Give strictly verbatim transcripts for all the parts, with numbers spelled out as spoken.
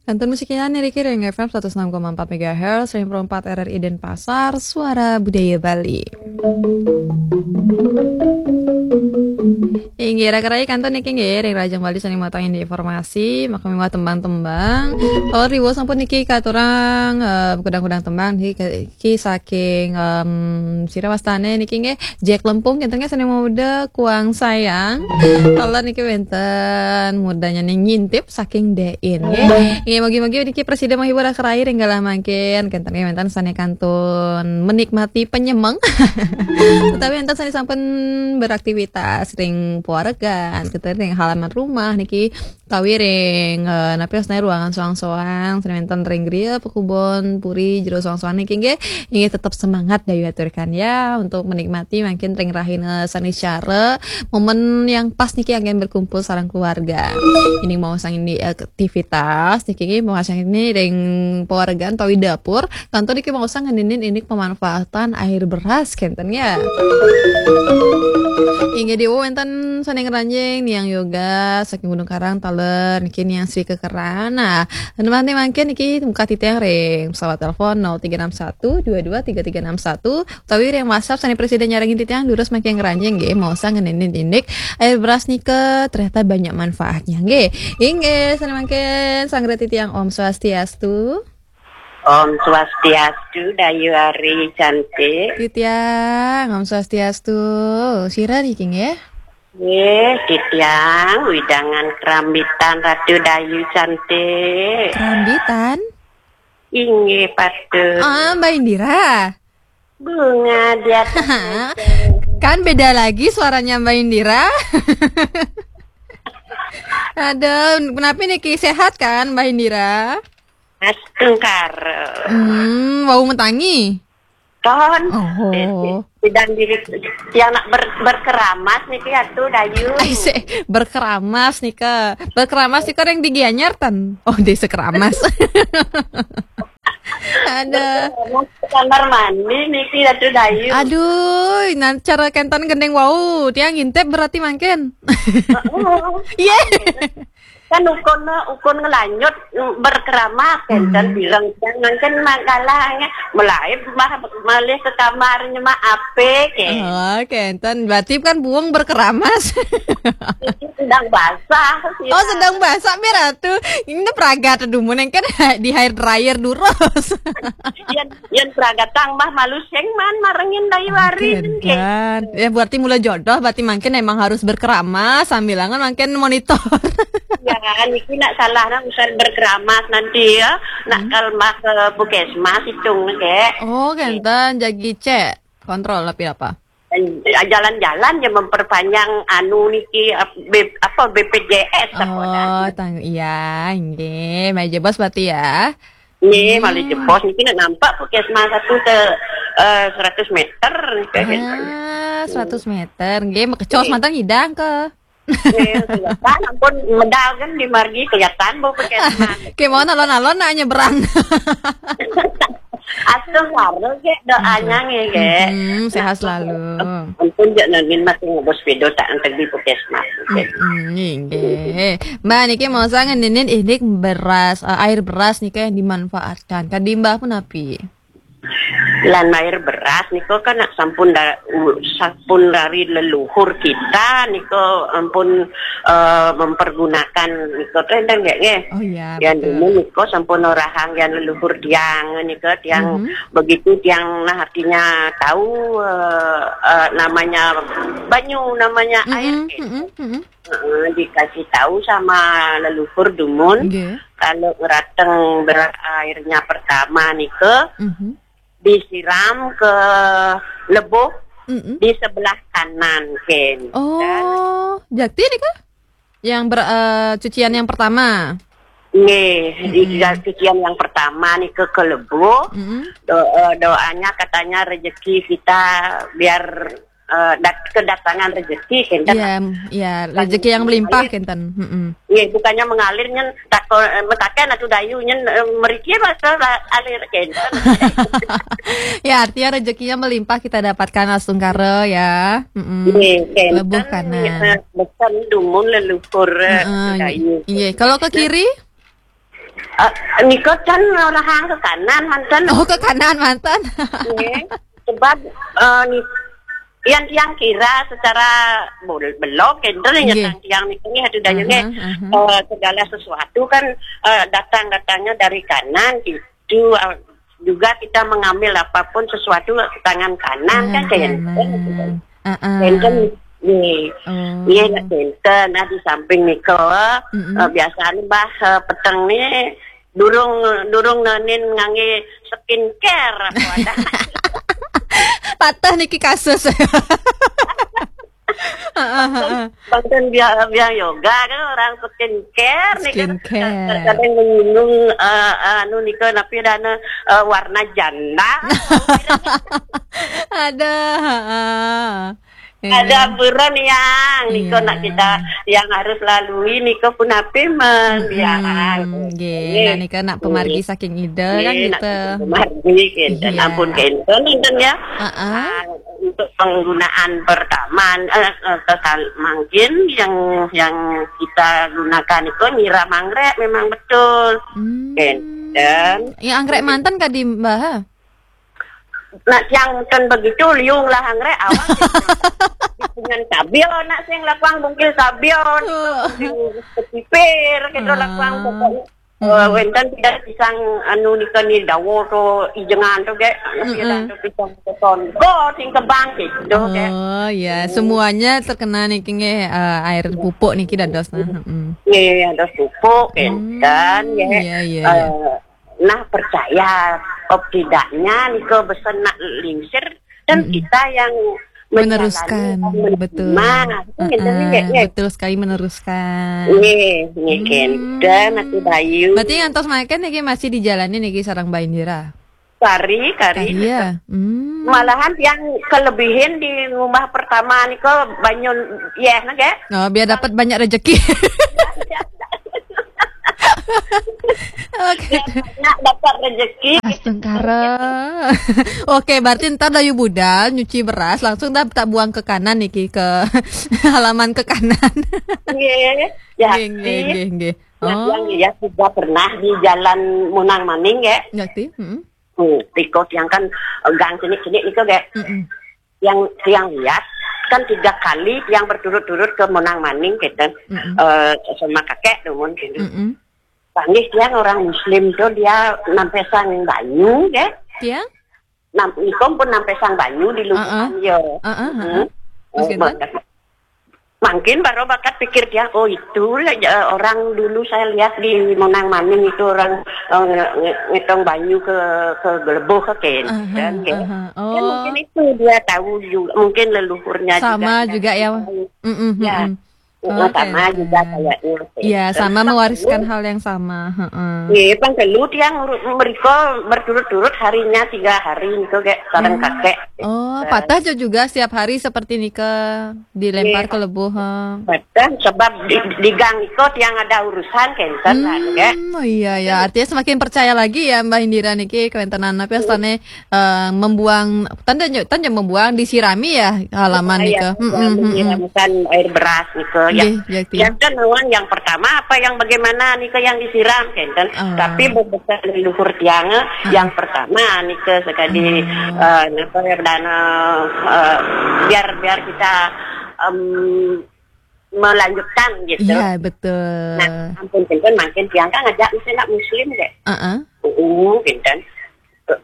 Kantun musik niki ring F M seratus enam koma empat megahertz, ring Pro empat R R I Denpasar, Suara Budaya Bali. Inggih, raka-raka kantun niki nggih, ring Rajang Bali sané matang indik informasi, maka miwah tembang-tembang. Kalau riwuh sampun niki katurang, eh, kudang-kudang tembang niki, niki saking, em, sira wastané niki nggih, Jack Lempung, kenten nggih sané mauda Kuang Sayang. Kalau niki wénten mudanya ning ngintip saking Dein nggih. Nggih, mugi-mugi niki prasida menghibur raka-raka ring galah mangkin. Kenten nggih wénten sané kantun menikmati penyemeng. Utawi wénten sané sampun beraktivitas ring pawargan, kenten ring halaman rumah niki, utawi ring, eh, napi wastané ruangan soang-soang, sané wénten ring griya, pakubon, puri, jero soang-soang niki nggih, inggih tetep semangat dayu aturkan ya untuk menikmati mangkin ring rahina sané cara, momen yang pas niki anggén berkumpul sareng keluarga. Ini mau sang ini aktivitas niki nggih, mau sang ini ring pawargan utawi dapur, kantun niki mau sang ngeninin indik pemanfaatan air beras kenten ya. Inggih diwuh wénten sané ngranjing Niang Yoga saking Gunung Karang taler niki Niang Sri Kekeran. Nah, mangkin niki muka titiang ring pesawat telepon nol tiga enam satu dua dua tiga tiga enam satu utawi ring WhatsApp sané prasida nyarengin titiang durus mangkin ngranjing nggih, mau sang ngeninin indik air beras nika ternyata banyak manfaatnya nggih. Inggih, sané mangkin sanggra titiang Om Swastiastu. Om Swastiastu, Dayu Ari cantik. Titiang, Om Swastiastu. Sira niki nggih? Nggih, titiang widangan Kerambitan Ratu Dayu cantik. Kerambitan? Inggih, patut. Ah, Mbak Indira. Bunga di atas meja. Kan beda lagi suaranya Mbak Indira. Aduh, kenapa niki sehat kan Mbak Indira? Astungkara. Hmm, wau matangi. Ton. Oh. Sedang di yang nak ber, berkeramas niki Ratu Dayu. Ai, se, berkeramas nika. Berkeramas nika yang di Gianyar ten. Oh, di Sekeramas. Ada. Berkeramas ke kamar mandi niki Ratu Dayu. Aduh, nah cara kenten gendeng wau, tiang ngintip berarti mangkin. Heeh. Iya. Kan ukun, ukun ngelanjut, mm, berkeramas, kenten Hmm. bilang, "Jangan kan makalahnya, melaib mah malih ke kamarnya mah apik, eh." Oh, kenten. Berarti kan buang berkeramas. Sedang basah, sih. Oh, sedang basah, Mbak Ratu. Ini pragat dumun kan di hair dryer durus. Yen, yen pragatang mah malu sing man marengin Dayu Ari, kenten. Ya, berarti mula jodoh, berarti mangkin emang harus berkeramas, sambil angan mangkin monitor. Ya, niki nak salah nak usah berkeramas nanti ya. Nak Hmm. kal mah ke puskesmas hitung, Kek. Oh, kenten, jagi cek. Kontrol tapi apa? Ya, jalan-jalan ya memperpanjang anu niki, ap-, B-, apa, B P J S apa Oh, dah. Tang, iya, nggih, malih jebos berarti ya. Nggih, Hmm. malih jebos niki nak nampak puskesmas satu ke, eh, seratus meter niki. Ah, seratus meter. Nggih, makecos Nggih. mantan ngidang ke. Nggih, kelihatan ampun medal kan di margi kelihatan bau puskesmas. Ke mau alon-alon nak nyebrang. Astungkara, Kek, doanya nggih, Kek. Hmm, sehat selalu. Ampun, jak nangin mati ngobos sepeda tak antar di puskesmas, Kek. Hmm, nggih. Mbak niki mau saya ngeninin indik beras, eh, air beras nika yang dimanfaatkan. Kadi Mbak punapi? Lan air beras nika kan nak sampun da-, u-, sampun dari leluhur kita nika ampun, eh, mempergunakan nika teh, enten nggih, nggih? Oh iya, Yang betul. Dulu nika sampun orahang yang leluhur tiang nika, tiang Mhm. begitu tiang nah artinya tahu, eh, eh, namanya banyu, namanya air, Mm-mm, gitu. Mm-mm, mm-mm. Heeh, dikasih tahu sama leluhur dumun, Nggih. kalau ngerateng ber-, airnya pertama nika, Mhm. disiram ke lebuh Mm-mm. di sebelah kanan, Ken. Oh, jakti nika? Yang ber-, eh, cucian yang pertama? Nggih, di Mm-mm. cucian yang pertama nika ke lebuh. Mm-mm. Do-, eh, doanya katanya rezeki kita biar, eh, dat-, kedatangan rezeki, kenten. Iya, iya, rezeki yang melimpah, kenten. Mm-mm. Nggih, bukannya mengalir nyen, tako-, eh, metaken atau dayu nyen, eh, meriki rasa la-, alir, kenten. Ya, artinya rezekinya melimpah kita dapatkan astungkara ya. Mm-mm. Nggih, kenten. Lebuh kanan. Eh, besen dumun leluhur, eh, Heeh, dayu. Iya, kalau ke kiri? Ah, nika kan lahang ke kanan manten. Oh, ke kanan manten. Nggih. Sebab, eh, ni, yang tiang kira secara bel-, belok, kenten nggih, nyetang tiang nika nggih, atu daya nggih. Aha, aha. Eh, segala sesuatu kan, eh, datang-datangnya dari kanan gitu. Eh, juga kita mengambil apapun sesuatu ke tangan kanan kan, kanan, kenten. Heeh. Kenten, nggih. Oh. Nggih, nak kenten. Nah, di samping nika, mm-mm, eh, biasanya bah, eh, peteng ni durung, durung nenin ngangge skincare apa ada. Patah niki kasus. Heeh, heeh. Banten biar, biar yoga kan orang skincare nih kan. Skincare. Kadang menyinggung, eh, eh, anu nika napi dana, eh, warna janda. Ada, heeh. Ada buron yang nika nak kita yang harus lalui nika pun apa men, mm-mm, biar. Nggih, nah nika nak pemargi saking Ida kan nggih, nak gitu. Pemargi kenten. Iya. Ampun kenten, kenten ya. Heeh. Ah, untuk penggunaan pertama, eh, eh, kekal-, mungkin yang, yang kita gunakan itu nyiram anggrek memang betul. Hmm. Kenten. Ya, anggrek manten kadi Mbah? Nak yang ten begitu liung lah anggrek awak. Dengan sabil nak sing lakuang bungkil sabil. Oh. Sing pesipir gitu lakuang pokoknya. Eh, wenten tidak pisang anu nika ni dawo to ijengan to ge. Anu, mm-mm, pisang to pisang keton. Go sing kebang gitu ge. Oh ya, semuanya terkena niki nggih, eh, air pupuk niki dados nah. Heeh. Nggih, dados pupuk kenten ya. Iya, iya, iya. Eh, nah percaya op tidaknya nika besen nak lingsir dan kita yang meneruskan, betul. Nah, itu yang penting, ya. Betul sekali, meneruskan. Nggih, nggih, kenten, Atu Dayu. Berarti ngantos mangkin niki masih dijalani niki sareng Mbah Indira? Kari, kari. Kari, ya. Hmm. Malahan yang kelebihin di rumah pertama nika banyu yeh, nggih. Oh, biar dapat banyak rezeki. Oke. Nak dapat rezeki. Astungkara. Oke, berarti ntar dayu budal nyuci beras langsung dah tak buang ke kanan niki, ke halaman ke kanan. Nggih, ya. Nggih, nggih, nggih, nggih. Nah, oh, yang lihat juga pernah di Jalan Munang Maning, ya. Ngerti? Heeh. Hmm, tikus yang kan, eh, gang sini-sini itu, ya. Heeh. Yang tiang lihat kan tiga kali tiang berturut-turut ke Munang Maning gitu. Mm-mm. Eh, sama kakek tuh mun gitu. Mm-mm. Panggih tiang orang Muslim tuh dia nampesang banyu ya. Tiang? Nam, ikom pun nampesang banyu di lubuhan ya. Heeh, heeh. Terus gitu? Mangkin baru bakat pikir dia, oh itulah, eh, orang dulu saya lihat di Munang Maning itu orang, eh, nge-, nge-, ngetong banyu ke, ke gelebuh ke kenten, ya. Aha. Oh. Mungkin itu dia tahu juga, mungkin leluhurnya sama juga, juga ya. Mm-mm, ya. Mm-mm. Oh, sama juga kayaknya. Ya, sama mewariskan hal yang sama. Heeh. Iya, pang telu tiang ru-, mereka berturut-turut harinya tiga hari itu kayak sareng kakek. Oh, patah juga setiap hari seperti nika dilempar ke lebuh, ha. Betul, sebab di, di gang iko tiang ada urusan kenten kan, ya. Hmm, oh iya, ya. Artinya semakin percaya lagi ya Mbak Indira niki kewentenan apa ya, eh, membuang, tanda nyo-, tanda membuang, disirami ya halaman nika. Iya, mm-mm, menyiramkan air beras nika. Nggih, ya, yang kan lawan yang pertama apa yang bagaimana nika yang disiram kenten. Oh. Tapi bebesan leluhur tiang, eh, yang pertama nika sekali, eh, napa ya, dana, eh, biar, biar kita, em, melanjutkan gitu. Iya, betul. Nah, ampun kenten mangkin tiang kan ngajak mesti nak muslim deh. Heeh. Uh, kenten.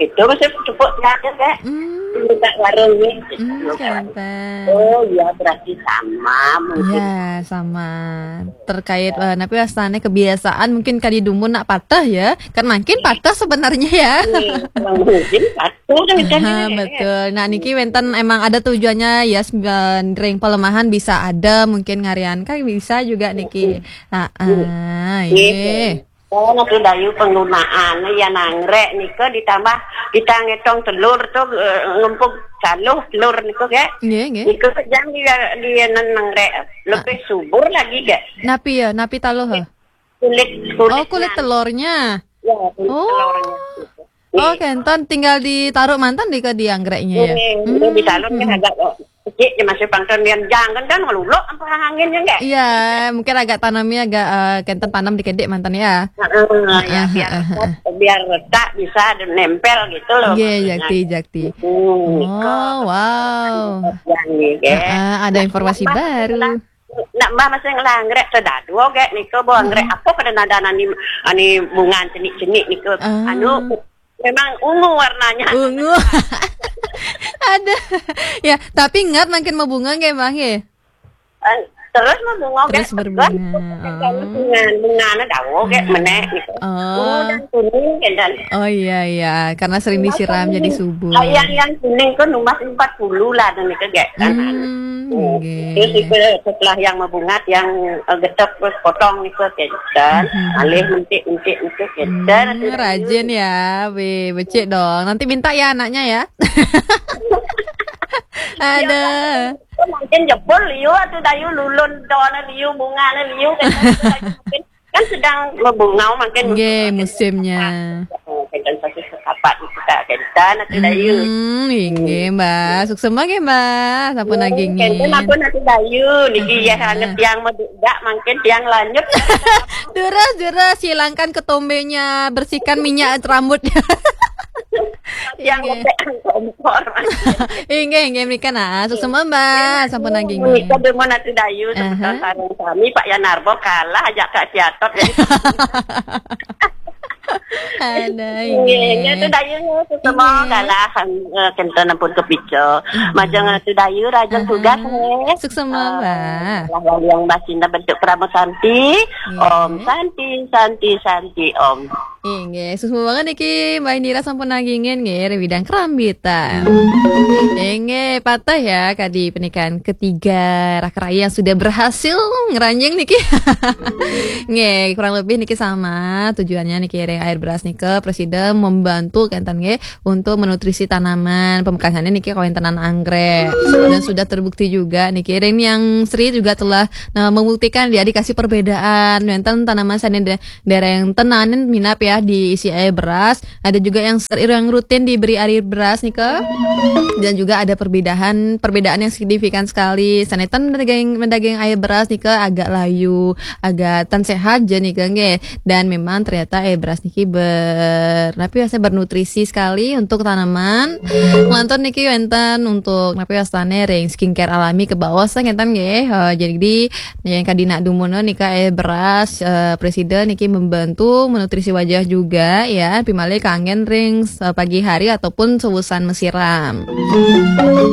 Itu mesti tepuk tangan deh. Hmm. Minta warung nih. Hmm, kenten. Oh iya, berarti sama mungkin. Ya, sama. Terkait, eh, napi wastane kebiasaan mungkin kadi dumun nak patah ya. Kan mangkin patah sebenarnya ya. Iya, mungkin patah kan. Aha, betul. Nah, niki wenten emang ada tujuannya ya, ring pelemahan bisa ada mungkin ngarian kan bisa juga niki. Heeh, iya. Iya. Oh, niki dayu penggunaan ya nanggrek nika ditambah kita ngetong telur tu, eh, ngempuk caluh telur niku ya. Nggih, nggih. Niku jang dia, dia nanggrek lebih subur lagi gak? Napi ya, napi taluh, ha? Kulit, kulit. Oh, kulit telurnya. Ya, kulit telurnya. Oh, kenten tinggal ditaruh manten di ke di anggreknya ya. Ini, ini di salon kan agak, oh, Kecik je masih pangkal nian jang kan, kan ngeluluk apa angin je, enggak? Iya, mungkin agak tanamnya agak, eh, kenten tanam dikedik mantan ya. Heeh, ya, biar retak, biar retak bisa ada nempel gitu loh. Nggih, maksudnya. Jakti, jakti. Hmm, oh, wow. Yang ni, nggih. Heeh, ada informasi baru. Nak mbah masih ngelanggrek sedadu, gek, niko, bo anggrek apa kada nada nani, ani bunga cenik-cenik niko. Ah. Anu, memang ungu warnanya. Ungu. Ada. Ya, tapi ingat makin mau bunga nggih, Mbah, nggih? Eh, terus mau bunga, terus gek, berbunga. Bunga, bunga na dawo, gek, menek, gitu. Oh. Bunga dan kuning, gitu. Oh, iya, iya. Karena sering disiram jadi subur. Ah, yang, yang kuning kan nomor empat puluh lah, dan itu, gek, kan. Hmm, nggih. Terus itu setelah yang mau bunga, yang, eh, getok, terus potong, gitu, gitu. Dan alih mentik-mentik, gitu. Hmm, rajin ya, weh, becik dong. Nanti minta ya anaknya ya. Ada. Mungkin jebul liu atau dayu lulun dona liu, bungane liu, kan, kan sedang berbunga, mungkin. Nggih, musimnya. Kan satu setapak kita, kan, atau dayu. Hmm, inggih, Mbah. Suksema nggih, Mbah. Sampun nagingin. Kan aku nanti dayu, niki ya, sangat tiang medudak, mungkin tiang lanjut. Durus, durus, hilangkan ketombenya, bersihkan minyak rambutnya. Yang nggih. Lembek kompor. Inggih, inggih, mriki, nah, suksema, Mbah, sampun nagingin. Menika demen atu dayu, semeton sareng sami, Pak Yanarbo kalah ajak Kak Siatot. Ada, inggih. Inggih, atu dayu, suksema kalah, eh, kenten ampun kepica. Majeng atu dayu, rajeng tugas, nggih. Suksema, Mbah. Lah, wali yang basinda bentuk Parama Santi. Om Santi, Santi, Santi, Om. Inggih, suksma banget niki, Mbah Indira sampun nagingin nggih, ring bidang kerambitan. Inggih, patah ya, kadi pernikahan ketiga Raka Rai yang sudah berhasil ngranjing niki. Nggih, kurang lebih niki sama tujuannya niki, ring air beras nika, Presiden membantu kenten nggih, untuk menutrisi tanaman, pamekasannya niki kawéntenan anggrek. Dan sudah terbukti juga niki, ring yang Sri juga telah, nah, membuktikan dia dikasih perbedaan, wénten tanaman sané de- Dereng tenanan minab ya diisi air beras. Ada juga yang ser-, yang rutin diberi air beras nika. Dan juga ada perbedaan, perbedaan yang signifikan sekali. Sané ten mendaging, mendaging air beras nika agak layu, agak ten sehat je nika nggih. Dan memang ternyata air beras niki ber-, napi wastane bernutrisi sekali untuk tanaman. Lantur niki wénten untuk napi wastane ring skincare alami ke bawah ngénten nggih. Eh, jadi Nah, yang kadi nak dumun nika, eh, beras, eh, Presiden niki membantu menutrisi wajah juga, ya, pimalih kanggen ring, eh, pagi hari ataupun seusan mesiram.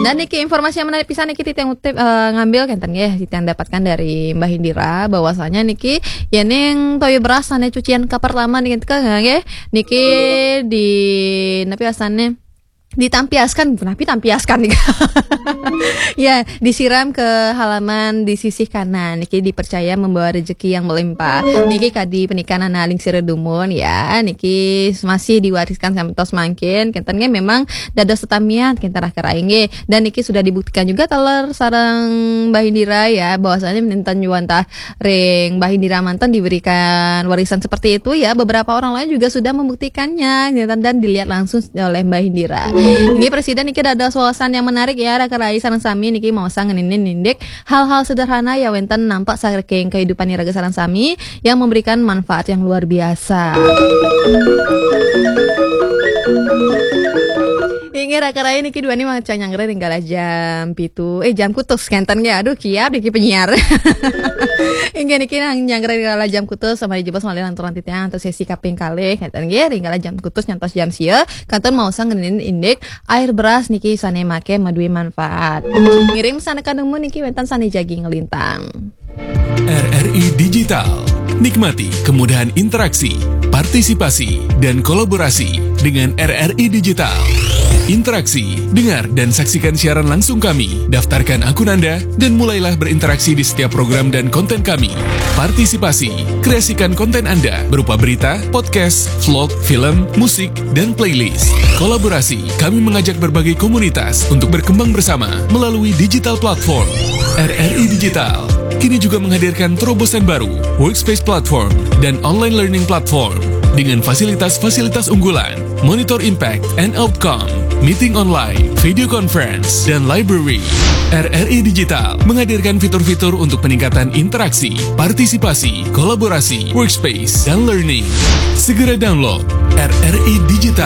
Dan niki informasi yang menarik pisan niki titiang utip, eh, ngambil kenten nggih, titiang dapatkan dari Mbah Indira bahwasanya niki yening toya beras sané cucian ka pertama niki, nggih, niki di napi asané ditampiaskan, napi tampiaskan nih. Ya, disiram ke halaman di sisi kanan. Niki dipercaya membawa rezeki yang melimpah. Niki kadi pernikahan anak lingsir dumun ya. Niki masih diwariskan sampai tos mangkin. Kenten nggih memang dados tetamian kenten Raka Rai nggih. Dan niki sudah dibuktikan juga taler sareng Mbah Indira ya, bahwasanya minten nyuwun tah ring Mbah Indira manten diberikan warisan seperti itu ya. Beberapa orang lain juga sudah membuktikannya, gitu, dan dilihat langsung oleh Mbah Indira. Nggih, Presiden niki dados wawasan yang menarik ya, Raka Rai sareng sami niki maosang ngeninin indik hal-hal sederhana ya wénten nampak saking kehidupan iraga sareng sami yang memberikan manfaat yang luar biasa. Inggih, Raka Rai niki duaning maca nyanggra ring galah jam pitu, eh, jam kutus kenten nggih. Aduh, kiap niki penyiar. Inggih niki nang nyanggra ring galah jam kutus, sambil jebos malih lanturang titiang antuk sesi kaping kalih kenten nggih, ring galah jam kutus nyantos jam sia, kantun maosang ngeninin indik air beras niki sané maké madué manfaat. Ngiring sané kadumun niki wénten sané jagi nglintang. R R I Digital. Nikmati kemudahan interaksi, partisipasi, dan kolaborasi dengan R R I Digital. Interaksi, dengar dan saksikan siaran langsung kami. Daftarkan akun Anda dan mulailah berinteraksi di setiap program dan konten kami. Partisipasi, kreasikan konten Anda berupa berita, podcast, vlog, film, musik, dan playlist. Kolaborasi, kami mengajak berbagai komunitas untuk berkembang bersama melalui digital platform. R R I Digital kini juga menghadirkan terobosan baru, Workspace Platform dan Online Learning Platform, dengan fasilitas-fasilitas unggulan, Monitor Impact and Outcome, Meeting Online, Video Conference, dan Library. R R I Digital menghadirkan fitur-fitur untuk peningkatan interaksi, partisipasi, kolaborasi, workspace, dan learning. Segera download R R I Digital.